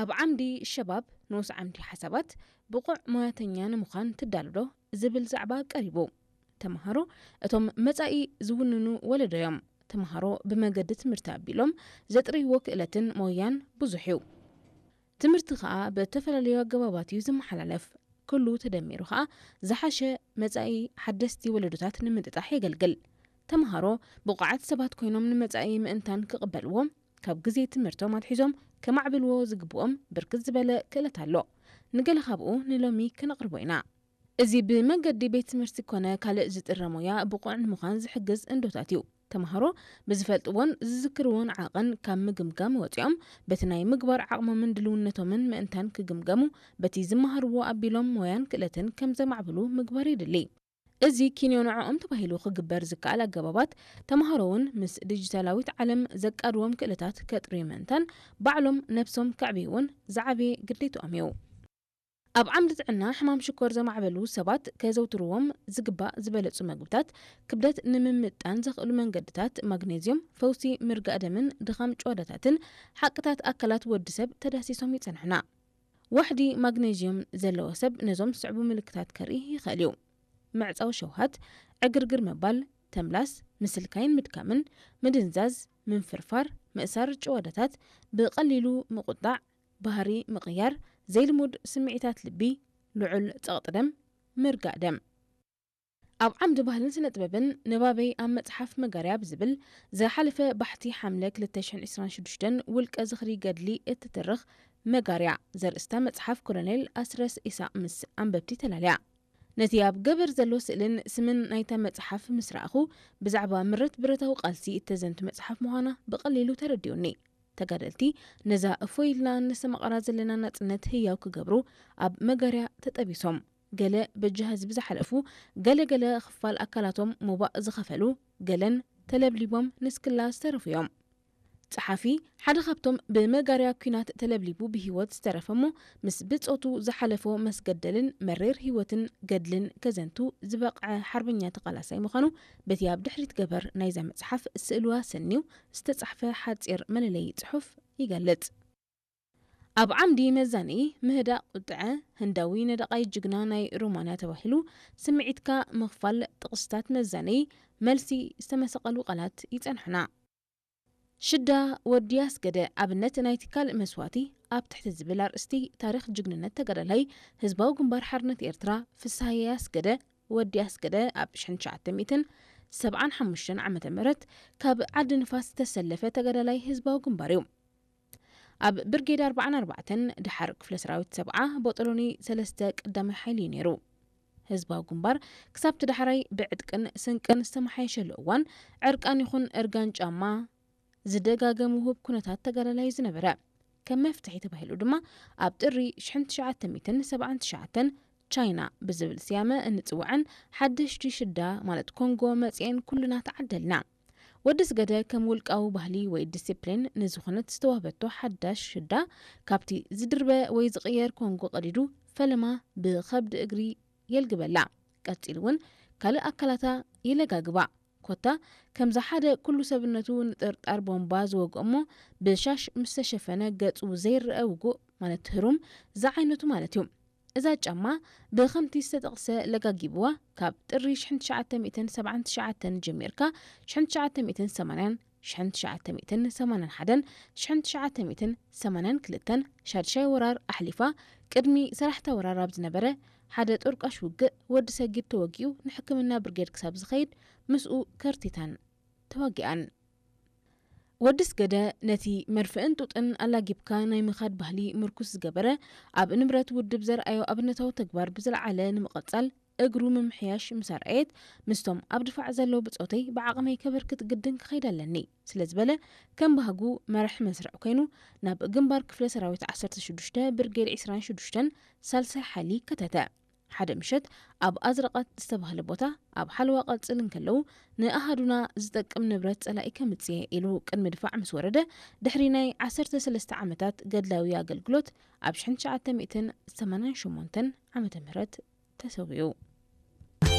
ኣብ ዓምዲ ሸባብ ንኡስ ዓምዲ ሓሳባት ብቑዕ ሞያተኛ ንምዃን ትዳሎ ዶ ዝብል ዛዕባ ቀሪቡ። ተምሃሮ እቶም መጻኢ ዝውንኑ ወለዶ እዮም። ተምሃሮ ብመገዲ ትምህርቲ ኣቢሎም ዘጥርይዎ ክእለትን ሞያን ብዙሕ እዩ። ትምህርቲ ከኣ ብእተፈላለዩ ኣገባባት እዩ ዝመሓላለፍ። ኩሉ ተደሚሩ ከኣ ዝሓሸ መጻኢ ሓደስቲ ወለዶታት ንምጥጣሕ የገልግል። ተምሃሮ ብቑዓት ሰባት ኮይኖም ንመጻኢ ምእንታን ክቕበልዎ፣ ካብ ግዜ ትምህርቶም ኣትሒዞም ከማዕብልዎ ዝግብኦም ብርክት ዝበለ ክእለት ኣሎ። ንገለ ካብኡ ንሎሚ ክነቕርቦ ኢና። እዚ ብመገዲ ቤት ትምህርቲ ኮነ ካልእ ዝጥረ ሞያ ብቑዕ ንምዃን ዝሕግዝ እንዶታት እዩ። ተምሃሮ ብዝፈልጥዎን ዝዝክርዎን ዓቐን ካብ ምግምጋም ወጺኦም በቲ ናይ ምግባር ዓቕሞምን ድልውነቶምን ምእንታን ክግምገሙ በቲ ዝመሃርዎ ኣቢሎም ሞያን ክእለትን ከም ዘማዕብሉ ምግባር ይድሊ። እዚ ኪንዮ ንዕኦም ተባሂሉ ክግበር ዝከኣል ኣገባባት ተምሃሮ እውን ምስ ዲጂታላዊት ዓለም ዘቃድዎም ክእለታት ከጥርዩ ምእንታን ባዕሎም ነብሶም ከዕብዩ እውን ዝዓበየ ግዴትኦም እዩ። ኣብ ዓምዲ ጥዕና ሕማም ሽኮር ዘማዕበሉ ሰባት ከዘውትርዎም ዝግባእ ዝበለጹ መግብታት፣ ክብደት ንምምጣን ዘኽእሉ መንገድታት፣ ማግኔዝዮም፣ ፈውሲ ምርጋእ ደምን ድኻም ጭዋዳታትን ሓቅታት ኣካላት ወዲ ሰብ ተዳሲሶም ይጸንሑና። ዋሕዲ ማግኔዝዮም ዘለዎ ሰብ ነዞም ዝስዕቡ ምልክታት ከርኢ ይኽእል እዩ። ምዕጻው ሸውሃት፣ ዕግርግር ምባል፣ ተምላስ፣ ምስልካይን ምድካምን፣ ምድንዛዝ፣ ምንፍርፋር፣ ምእሳር ጭዋዳታት፣ ብቐሊሉ ምቑጣዕ፣ ባህሪ ምቕያር፣ ዘይልሙድ ስምዒታት ልቢ፣ ልዑል ጸቕጢ ደም፣ ምርጋእ ደም። ኣብ ዓምዲ ባህልን ስነ ጥበብን ንባበይ ኣብ መጽሓፍ መጋርያ ብዝብል ዝሓለፈ ባሕቲ ሓምለ ክልተ ሽሕን ዕስራን ሽዱሽተን ውልቀ ዝኽሪ ገድሊ እትትርኽ መጋርያ ዘርእስታ መጽሓፍ ኮሎኔል ኣስረስ ኢሳቕ ምስ ኣንበብቲ ተላልያ። ነቲ ኣብ ገበር ዘሎ ስእልን ስምን ናይታ መጽሓፍ ምስ ረኣኹ፣ ብዛዕባ ምረት ብረታዊ ቃልሲ እተዘንቱ መጽሓፍ ምዃና ብቐሊሉ ተረዲኡኒ። ተጋደልቲ ነዛ እፎይ ኢልና እነስተማቕራ ዘለና ናጽነት ህያው ክገብሩ ኣብ መጋርያ ተጠቢሶም። ገለ በጃ ህዝቢ ዝሓለፉ፣ ገለ ገለ ክፋል ኣካላቶም ሞባእ ዝኸፈሉ፣ ገለን ተለብሊቦም ንስክላ ዝተረፉ እዮም። ጸሓፊ፣ ሓደ ካብቶም ብመጋርያ ኲናት ተለብሊቡ ብህይወት ዝተረፈ እሞ ምስ ብጾቱ ዝሓለፎ መስገደልን መሪር ህይወትን ገድልን ከዘንቱ ዝበቕዐ ሓርበኛ ተቓላሳይ ምዃኑ በቲ ኣብ ድሕሪት ገበር ናይዛ መጽሓፍ ስእልዋ ሰንዩ ዝተጻሕፈ ሓጺር መለለዪ ጽሑፍ ይገልጽ። ኣብ ዓምዲ መዛነዪ ምህዳእ ቁጥዐ፣ ህንዳዊ ነደቓይ ጅግና ናይ ሮማንያ ተባሂሉ ስምዒትካ ምኽፋል ጥቕስታት መዛነዪ መልሲ ዝተመሰቐሉ ቃላት ይጸንሑና። ሽዳ ወዲ ኣስገደ ኣብነት ናይቲ ካልእ መስዋእቲ ኣብ ትሕቲ ዝብል ኣርእስቲ ታሪኽ ጅግንነት ተጋዳላይ ህዝባዊ ግንባር ሓርነት ኤርትራ ፍስሃየ ኣስገደ ወዲ ኣስገደ ኣብ ሽሕን ትሽዓተ ሚእትን ሰብዓን ሓሙሽተን ዓመተ ምህረት ካብ ዓዲ ንፋስ ዝተሰለፈ ተጋዳላይ ህዝባዊ ግንባር እዩ። ኣብ ብርጌድ ኣርባዓን ኣርባዕተን ድሓር ክፍለ ሰራዊት ሰብዓ ቦጦሎኒ ሰለስተ ቀዳማይ ሓይሊ እዩ ነይሩ። ህዝባዊ ግንባር ክሳብቲ ዳሕራይ ብዕጥቅን ስንቅን ዝተመሓየሸሉ እዋን ዕርቃን ይኹን እርጋን ጫማ ዝደጋገም ውሁብ ኩነታት ተጋዳላይ ዝነበረ። ከም መፍትሒ ተባሂሉ ድማ ኣብ ጥሪ ሽሕን ትሽዓተ ሚእትን ሰብዓን ትሽዓተን ቻይና ብዝብል ስያመ እንጽውዐን ሓደሽቲ ሽዳ ማለት ኮንጎ መጺኤን ኩልና ተዓደልና። ወዲ ስገደ ከም ውልቃዊ ባህሊ ወይ ዲሲፕሊን ንዝኾነት ዝተዋህበቶ ሓዳሽ ሽዳ ካብቲ ዝድርበ ወይ ዝቕየር ኮንጎ ቀዲዱ ፈለማ ብኸብዲ እግሪ የልግበላ። ቀጺሉ እውን ካልእ ኣካላታ ይለጋግባ። ኮታ ከምዛ ሓደ ኩሉ ሰብነቱ ንጥርጣር ቦምባ ዝወግኦ እሞ ብሻሽ ምስ ተሸፈነ ገጹ ዘይረአ ውጉእ ማለት ህሩም ዝዓይነቱ ማለት እዩ። እዛ ጫማ ብኸምቲ ዝተጠቕሰ ለጋጊብዋ ካብ ጥሪ ሽሕን ትሽዓተ ሚእትን ሰብዓን ትሽዓተን ጀሚርካ ሽሕን ትሽዓተ ሚእትን ሰማንያን፣ ሽሕን ትሽዓተ ሚእትን ሰማንያን ሓደን፣ ሽሕን ትሽዓተ ሚእትን ሰማንያን ክልተን ሻድሻይ ወራር ኣሕሊፋ ቅድሚ ሰራሕታ ወራር ኣብ ዝነበረ ሓደ ጦርቃሽ ውግእ ወዲ ሰጊድ ተወጊኡ ንሕክምና ብርጌድ ክሳብ ዝኸይድ ምስኡ ከርቲታን ተዋጊኣን። ወዲ ስገደ ነቲ መርፍእን ጡጥን ኣላጊብካ ናይ ምኻድ ባህሊ ምርኩስ ዝገበረ ኣብ ንብረት ውድብ ዘርኣዮ ኣብነታዊ ተግባር ብዝለዓለ ንምቕጻል እግሩ ምምሕያሽ ምስ ኣርኣየት ምስቶም ኣብ ድፋዕ ዘለዉ ብጾተይ ብዓቕመይ ከበርክት ግድን ክኸይድ ኣለኒ ስለ ዝበለ ከም ባህጉ መራሕ መስርዕ ኮይኑ ናብ ግንባር ክፍለ ሰራዊት ዓሰርተ ሽዱሽተ ብርጌድ ዕስራን ሽዱሽተን ሳልሳይ ሓይሊ ከተተ። ሓደ ምሸት ኣብ ኣዝረቐት ዝተባህለ ቦታ ኣብ ሓለዋ ቀጽል እንከለዉ ንኣሃዱና ዝጠቅም ንብረት ጸላኢ ከምጽእ ኢሉ ቅድሚ ድፋዕ ምስ ወረደ ድሕሪ ናይ ዓሰርተ ሰለስተ ዓመታት ገድላዊ ኣገልግሎት ኣብ ሽሕን ትሽዓተ ሚእትን ሰማንያን ሸሞንተን ዓመተ ምህረት ተሰዊኡ።